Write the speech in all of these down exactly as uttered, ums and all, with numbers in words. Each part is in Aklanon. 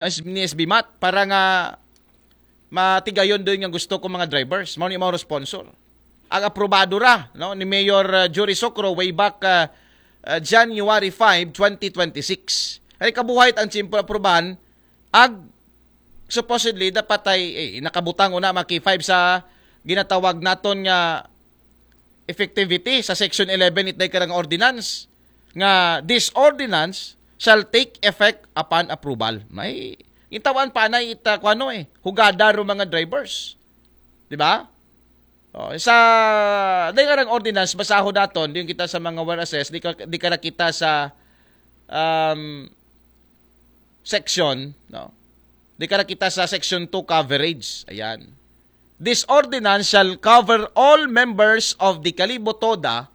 ni S B mat para nga matigayon doon nga gusto ko mga drivers. Mao ni mga sponsor. Ang aprobado ra, no, ni Mayor uh, Jury Socro way back uh, uh, January five, twenty twenty-six. Ay kabuhay ang simple aprubahan, ag supposedly dapat ay eh, nakabutang una mga K five sa ginatawag naton nga effectivity sa Section eleven itday karang ordinance nga this ordinance shall take effect upon approval. May gintawan pa na ita kuano eh, hugada ro mga drivers. Di ba? Oh, sa dahil karang ordinance, basaho daton, di kita sa mga whereases, di ka, di ka na kita sa um, section, no? Di ka na kita sa section two coverage. Ayan. This ordinance shall cover all members of the Kalibo Toda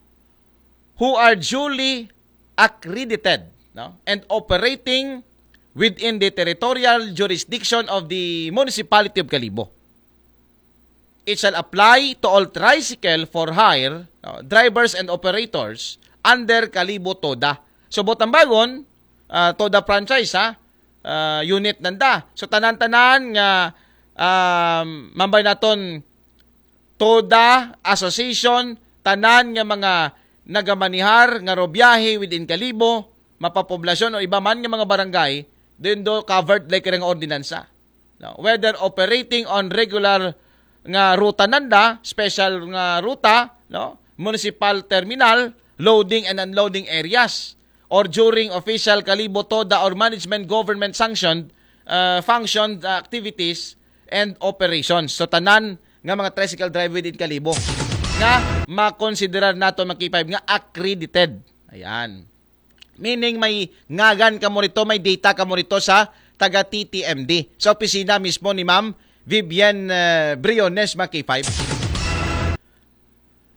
who are duly accredited, no, and operating within the territorial jurisdiction of the Municipality of Kalibo. It shall apply to all tricycle for hire, no, drivers and operators under Kalibo Toda. So, Botambagon, uh, Toda franchise, ha? Uh, unit nanda. So, tanan-tanan nga um, mambay naton Toda Association, tanan nga mga nagamanihar nga robiyahe within Kalibo, mapapoblasyon o iba man nga mga barangay, din do covered like nga ordinansa. No? Whether operating on regular nga ruta nanda, special nga ruta, no? Municipal terminal, loading and unloading areas, or during official Kalibo Toda or management government sanctioned uh, functioned activities and operations. So tanan nga mga tricycle driver within Kalibo nga makonsiderar nato mga K five nga accredited. Ayan. Meaning may ngagan kamo rito, may data kamo rito sa taga T T M D. Sa opisina mismo ni Ma'am Vivian uh, Briones, mga K five.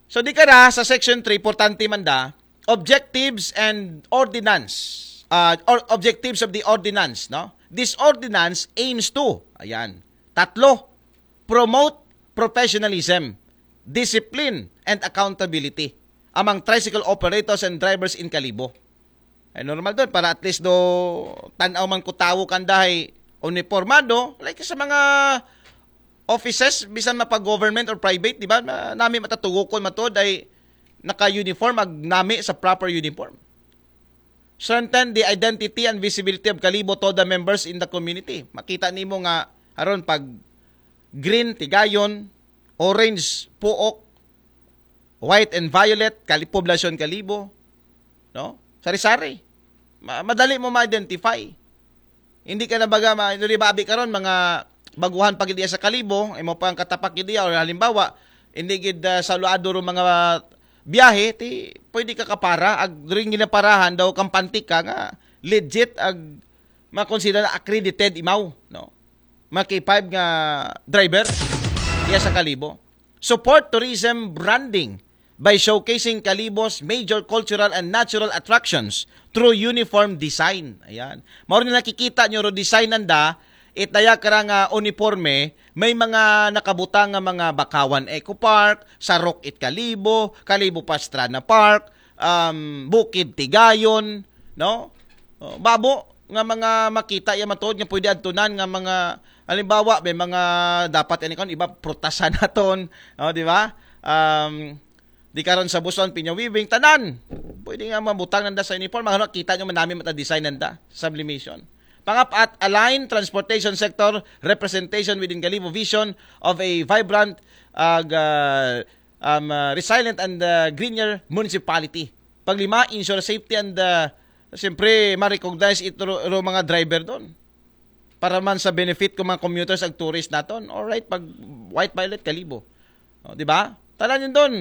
So di ka na sa section three, importante man da, objectives and ordinance. Uh, or objectives of the ordinance, no? This ordinance aims to, ayan, tatlo, promote professionalism, discipline, and accountability among tricycle operators and drivers in Kalibo. Ay normal doon para at least do tanaw man ko tawo kandahay uniformado like sa mga offices bisan mapa government or private, di ba? Na, nami matatugukon matod ay naka-uniform ag nami sa proper uniform. Strengthen the identity and visibility of Kalibo Toda members in the community. Makita nimo nga aron pag green tigayon, orange puok, white and violet, kali poblasyon Kalibo, no? Sari-sari. Ma- madali mo ma-identify. Hindi ka na baga ma hindi ba abi karon mga baguhan pag diya sa Kalibo, imo pa ang katapak diya or halimbawa, hindi gid uh, saluado ro mga biyahe ti pwede ka kapara ag during ginaparahan daw kampante ka nga legit ag makonsider na accredited imaw, no? Mga K five nga driver diya sa Kalibo. Support tourism branding by showcasing Kalibo's major cultural and natural attractions through uniform design. Ayan. Mao ni nakikita nyo ro design nanda, it daya kara nga uniforme, may mga nakabutang nga mga Bakawan Eco Park, Sarok it Kalibo, Kalibo Pastrana Park, um, Bukid Tigayon, no? Oh, babo nga mga makita ya matuod nga pwede adtunan nga mga halimbawa may mga dapat ani kon iba prutasan naton, oh, di ba? Um, di karon sa Buson, Pinya Weaving, tanan. Pwede nga mabutang nanda sa uniform, mga kita nyo manami mata design nanda, sublimation. Pangapat, align transportation sector representation within Kalibo vision of a vibrant uh, um, uh, resilient and uh, greener municipality. Paglima, ensure safety and uh, siyempre ma-recognize ito ro, ro mga driver doon. Para man sa benefit ko mga commuters ag tourist naton. Alright, pag white violet Kalibo. O, di ba? Tanan yun doon.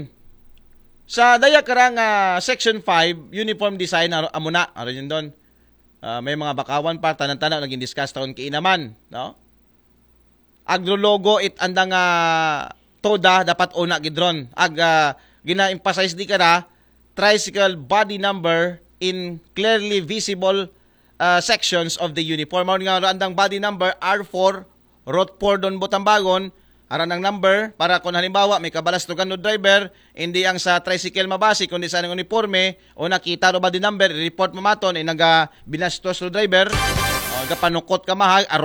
Sa daya karang uh, section five, uniform design aro amuna, aro yun doon. Uh, may mga bakawan pa tanan-tanan naging discuss taon kiinaman, no? Agrologo it andang uh, toda dapat una gidron. Ag uh, gina-emphasize di kara tricycle body number in clearly visible uh, sections of the uniform. Mao nga andang body number R four, route four don Botambagon, aran ang number para kung halimbawa may kabalas to gano driver, hindi ang sa tricycle mabasi kundi sa anong uniforme o nakita ro body number, report mo maton ay naga binastos ro driver. Gapanukot ka, ma, ha?